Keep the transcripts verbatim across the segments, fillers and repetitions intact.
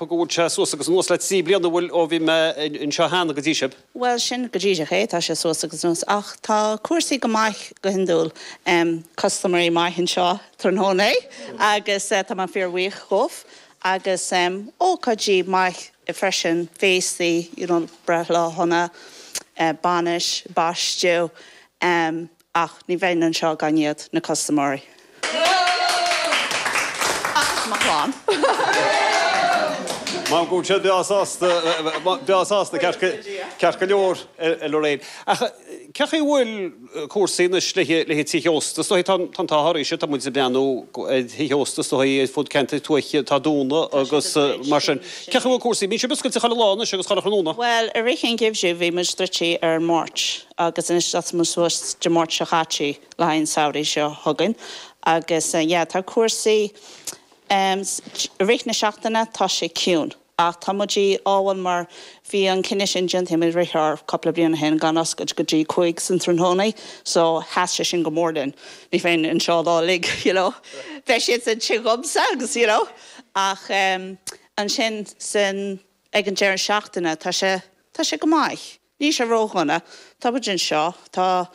ceapadh go bhfuil sé suas agus anuas le trí bliana bhfuil ó bhí mé anseo cheana go dtí sibh. Well sin go díreach é tá sé suas agus anuas ach tá cúrsaí go maith go hiondúil um, custaiméirí maith anseo tráthnóna agus uh, tá mé fíorbhuíoch dhóibh agus um, ócáidí maith freisin féastaí you know, breithlá shona uh, bainis, baisteadh um, ach ní bheinn anseo gan iad na custaiméirí. Agus mo chlann. Má go sé beásta beásta ceart go leor a Lorraine. Ach cén chaoi bhfuil cúrsaí anois le le tithe ósta, so tá tá tá tá muid ag breathnú tithe ósta so fud ceantar tuaithe tá dúnta agus mar sin. Cén chaoi bhfuil cúrsaí, bíonn sibh oscailte chuile lá anois agus chuile thráthnóna? Well, i rith an gheimhridh bhí muid druidte ar Máirt agus anois tá muid suas de Máirt seo chaite le haghaidh an samhradh seo chugainn agus uh, yeah, tá cúrsaí um, rith na seachtaine tá sé ciúin. Ach tá muid ábhal mar bhí an cinneadh sin déanta i rith ar cúpla bliain ó shin gan oscailt go dtí cúig san tráthnóna, so sheas sé sin go mór linn. Ní bheinn anseo lá lig, you know. Bheadh siad san tigh agus you know. Ach um, ansin sin ag an deireadh seachtaine tá sé tá sé go maith. Ní sé ródhona Tá muid anseo tá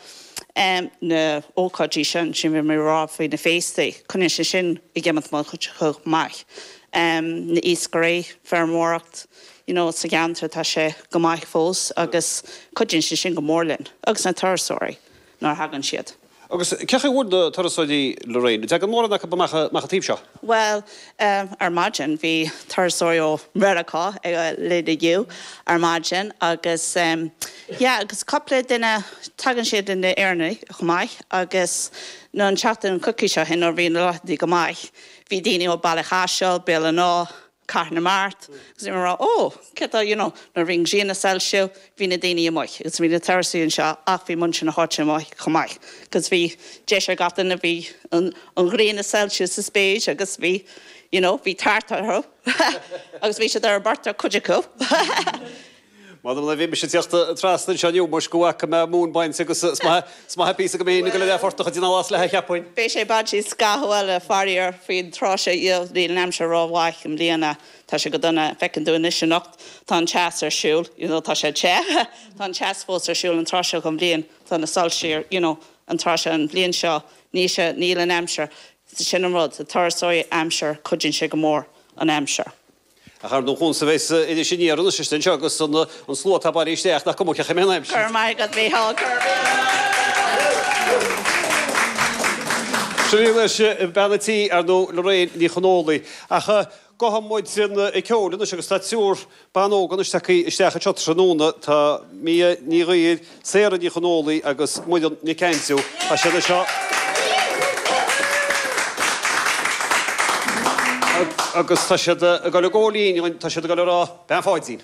um, na ócáidí sin sin bhí mé rá faoi na féastaí, chun sé sin i gcemat chomh maith. Um, na iascairí feirmeoireacht you know, sa gceantar tá sé go maith fós agus cuidíonn sé sin go mór linn agus na turasóirí nuair a thagann siad. Agus cén chaoi bhfuil na turasóirí Lorraine, Tagann mórán acu amach amach an taobh seo? Well, um, ar maidin bhí turasóirí ó Mheiriceá ag linn inniu ar maidin agus um, yeah, agus cúpla duine tagann siad in Éirne chomh maith agus nó an tseachtain coicís ó shin ó bhí na laethanta go maith. Bhí daoine ó Baile Chaisil, Béal an Átha, Cathair na Mart, agus rá ó cé you know, na ring sin soilsiú bhí na daoine amuigh, agus bhí na turasóirí anseo ach bhí muintir na háite amuigh chomh maith. Cos bhí deis ag gach duine bhí an ghrian ag soilsiú sa spéir agus bhí you know, bhí tart orthu agus bhí siad ar an bportach cuid acu. Má le bhí sé teachta trasna seo mus go bhfaca mé mún bainte agus sma pí go mé go le forta dina las le cheapfainn. Beidh sé bainte scaitheamh le faraor faoin tráth seo níl an aimsir rómhaith i mbliana tá sé go dona feiceann tú anois anocht tá an teas ar siúl you know, tá sé te tá an teas fós ar siúl an tráth seo den bhliain tá na soilse you know, an tráth seo an bhliain seo ní sé níl an aimsir sin an rud turasóirí aimsir cuidíonn sé go mór an aimsir. A char nó chun sa bhéis idir sin an sin seo agus an slua atá isteach nach cuma cé mé Gur mai go bhí Sin leis bean an tí ar nó Lorraine Ní Chonólaí ach gabhfaidh muid ag ceol anois agus tá triúr ban óg anois isteach anseo tráthnóna tá Mia Ní Ghaoir, Sarah Ní Chonólaí agus Muireann Nic Aindriú Tá siad seo. Agus tá siad ag dul a gcóilín tá siad ag dul a rá Bean Pháidín.